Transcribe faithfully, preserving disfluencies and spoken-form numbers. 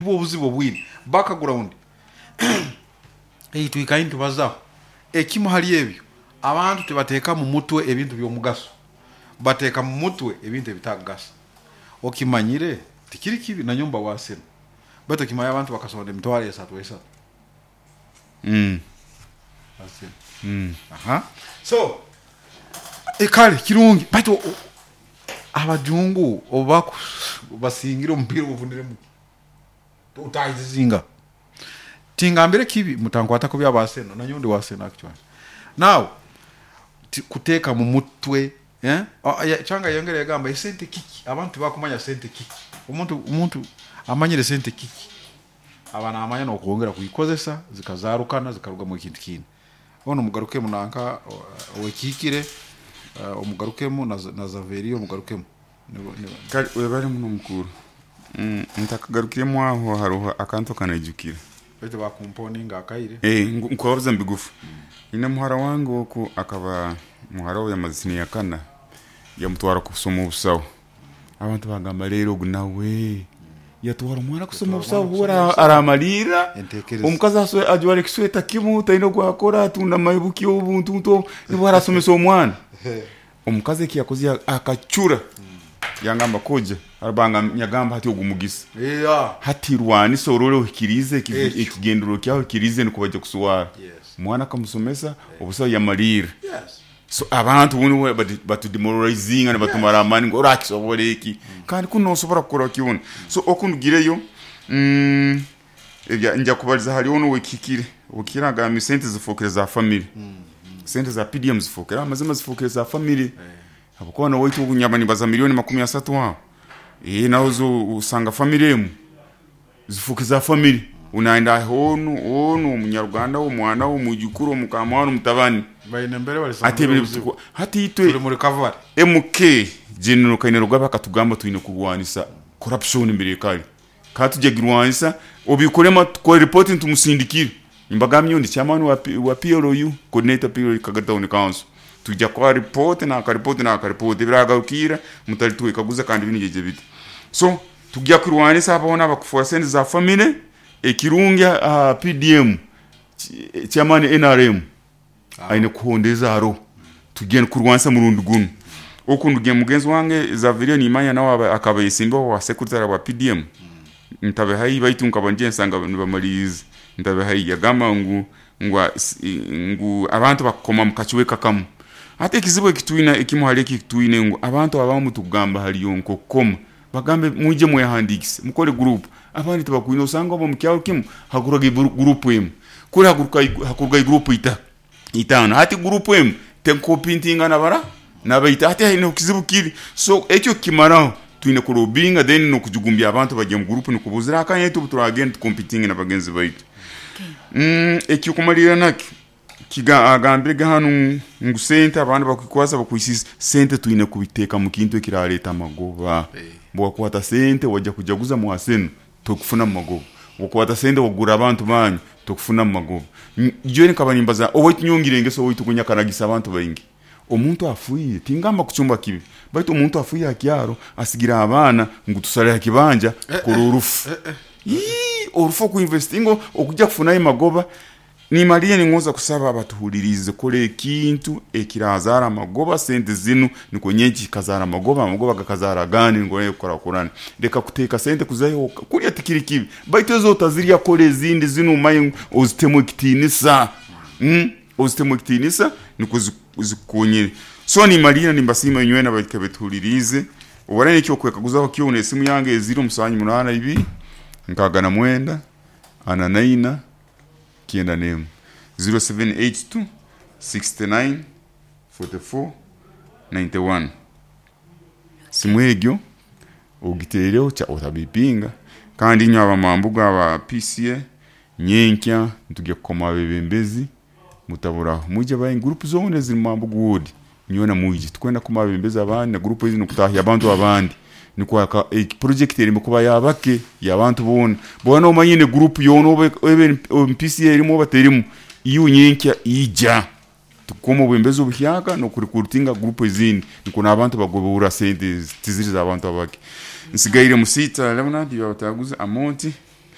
Nibwo obuzibu obwine background ei twikaire nitubazaho. Ekimu hali ebyo, abantu tibateeka mu mutwe ebintu by'omugaso, bateeka mu mutwe ebintu ebitakugasa. Okimanyire tikiri kibi, nanyowe mba waseno, baitu okimanyire abantu bakasonda emitwaro esatu esatu. Mm. Arsenal. Mm. Aha. So kale kirungi, baitu o- abajungu obu basingire omupiira ogufuniremu ki? Utahizizinga. Tingambire kibi, mutankwata kubi aba Arsenal, nanyowe ndi wa Arsenal actually. Now ti- kuteeka mu mutwe, eh? Ah, ya- Kyanga yongera yagamba esente kiki? Abantu tibakumanya sente kiki. Omuntu omuntu amanyire sente kiki, aba namanya n'okwongera kuikozesa zikazarukana zikarugamu ekintu kindi. Ono mugarukemu nanka owekihikire, uh, omugarukemu na, na Zaveri omugarukemu. Nibo- nibo- Kale webale muno mukuru. Mm, ntakagarukiremu aho hariho akantu akanaijukira. Baitu bakumponinga akaire. Eh, ngu- nkubabuza mbigufu. Ine muhara wange oku akaba muhara we yamaze siniya kana, yamutwara kusoma obusaho. Abantu bagamba rero ogu nawe yatwara omwana kusoma Yatwara obusaho omwana kusoma ora obusaho. aramalira Entekereza. omukazi aswe ajwara ekisweta kimu taine ogwakora atunda maibuki obuntu nibwo arasomesa omwana. Omukazi eki yakoze akacura, yangamba koja arabanga nyagamba hati ogu mugisa Yeah. hati rwanisa orole ohikirize eki- Ekyo. ekigendero kyawe okirize nukwo bajja kuswara. Yes. Omwana akamusomesa obusaho yamalira. Yes. So abantu bunu batudemoralizinga nibatumara amani ngu orakisobora eki, kandi kunu nosobora kukora kyona. So okundugireyo, mm, ebya nja kubaliza hali ono wekihikire okihikire agambye sente zifokere za family, sente za P D M zifokere amazima zifokere za family, habwokuba nowaitu obunyaba nibaza milioni makumi asatu aho, eh, naho zo osanga family emu zifuke za family, unaenda onu onu omunyaruganda omwana omwijukuru omukamwana omutabani Baine mbere bali ati ebintu bituku- hati itwe tuli mu recovery. M K General Kainerugaba akatugamba twine kurwanisa corruption mbere kale, kandi tujya girwanisa obikorema tukore report ntumusindikire. Mbagamye ndi chairman wa P-, wa P L U, coordinator P L U Kagari Town Council, tujya kwa report na ka report na ka report biragarukira mutari twekaguza kandi binigeje biti. So tujya kurwanisa abona abakufora sente za family ekirungi uh, P D M ch-, chairman N R M aine kuhondeza haro tugenda kurwanisa murundi guno. Okundugiye mugenzi wange Xavier Nimanya nawe akaba yesimba wa secretary wa P D M, ntabe hayi baitu nkaba nje nsanga nibamaliza ntabe hayi yagamba ngu, ngu, ngu abantu bakoma mukachiweka kamu. Ate ekizibu ekitwina ekimu hali ekitwine ngu abantu abamu tugamba haliyo nkokoma bagambe mwije mwehandikise mukole group, abandi tibakwine osanga obo mukyalo kimu hakuruga group emu kuri hakuruka hakuruga group ita itano hati group emu tenkopintinga nabara nabaita hati haine kizibu kiri. So ekyo kimaraho twine kurobinga then no kujugumbya abantu bajye mu group no kubuzira akanya tu turagenda competing na bagenzi baitu. Mm, ekyo kumalira nakyo kiga agambire hanu ngu sente abantu bakukwasa bakwisisa sente twine kubiteka mu kintu ekiraleta amagoba. Bwakwata sente wajja kujaguza mu aseno tokufuna mu magoba, wakwata sente wagura abantu banyu tokufuna mu magoba. Jwe nkaba nimbaza owaitu nyongire engeso owaitu kunyakaragisa abantu baingi. Omuntu afuye tingamba kuchumba kibi, baitu omuntu afuye akyaro asigira abana ngu tusale akibanja kora orufu. Ii, orufu ku investingo okujja kufunayo magoba. Nimaliye ningoza kusaba abatuhulirize kore ekintu ekirazara amagoba sente zinu niko nyenki kazara amagoba amagoba gakazara gani ngo nayo kora kurana reka kuteka sente kuzayo kulya tikiri kibi baitu ezo tazirya kore ezindi zinu maye ozitemu ekitinisa. Mm, ozitemu ekitinisa niko zikonyere. So nimaliye nimbasima inywe n'abakebetuhulirize obara ekyo kwekaguzaho kyo nesimu yange eziro musanyu munana ibiri nkaga na mwenda ana naina kienda nemu zero seven eight two sixty-nine forty-four ninety-one. Simu egyo ogitereho cha otabipinga kandi inywe abamambuga aba P C A nyenkya ntujye kukoma abebembezi mutaburaho muje bayi group zone ziri mambugu ward nyona muje tukwenda kuma abebembezi abandi na group izi nokutahya abantu abandi niko aka e, project eri mukuba yabake yabantu bona bona omanyine group yono obe, obe P C A erimo baterimu iyo nyenkya ija tukoma obwembezi obuhyaka no kurikurutinga group ezindi niko nabantu bagobura sente tiziriza abantu abake. Nsigaire musita Leonard yabataguza amonti